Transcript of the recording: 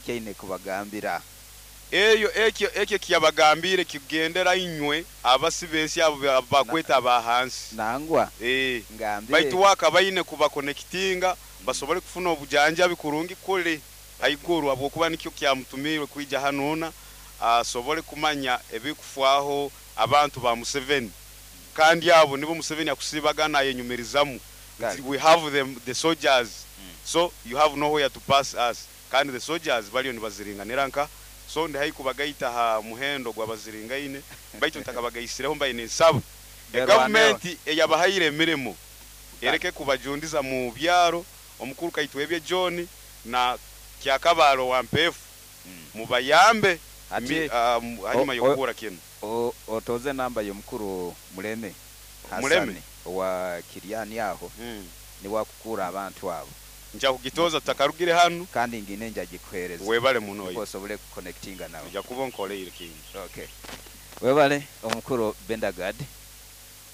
Kyaine kubagambira. Eyo ekyo ekyo ekiyabagambiire kikugendera inywe abasi b'ensi abo abu bakweta aba hansi. Nangwa, Eeh. ngambire. Baitu we akaba aine kubakonekitinga basobole kufuna obujanjabi kurungi kuli haiguru habwokuba nikyo kyamutumiirwe kwija hanuuna asobole kumanya ebikufwaho abantu ba Museveni. Kandi abo nibo Museveni akusiibaga nayenyumirizamu nti we have them, the soldiers, so you have nowhere to pass us. Kandi the soldiers baliyo nibaziringanira nka so ndi haihi kubagaita ha muhendo gw'abaziringaine, baitu ntakabagaisireho mbaire ninsaba egavumenti eyabahaire emirimo ereke kubajundiza mu byaro. Omukuru Kaitwebye John na Kyakabaale owa Mpeefu, mubayambe Hati hanyuma y'okuhurra kinu. Otoze enamba y'omukuru Muleme Muleme. Hasani owa Kiryani aho, niwe akukuura abantu abo. Nja kugitoza tutakarugire hanu. Kandi ngine nja gikuheereza. Webale muno. Nukwo osobole kuconnectinga nawe. Ojja kuba onkoleire kingi. Okay. Webale omukuru Bendagad.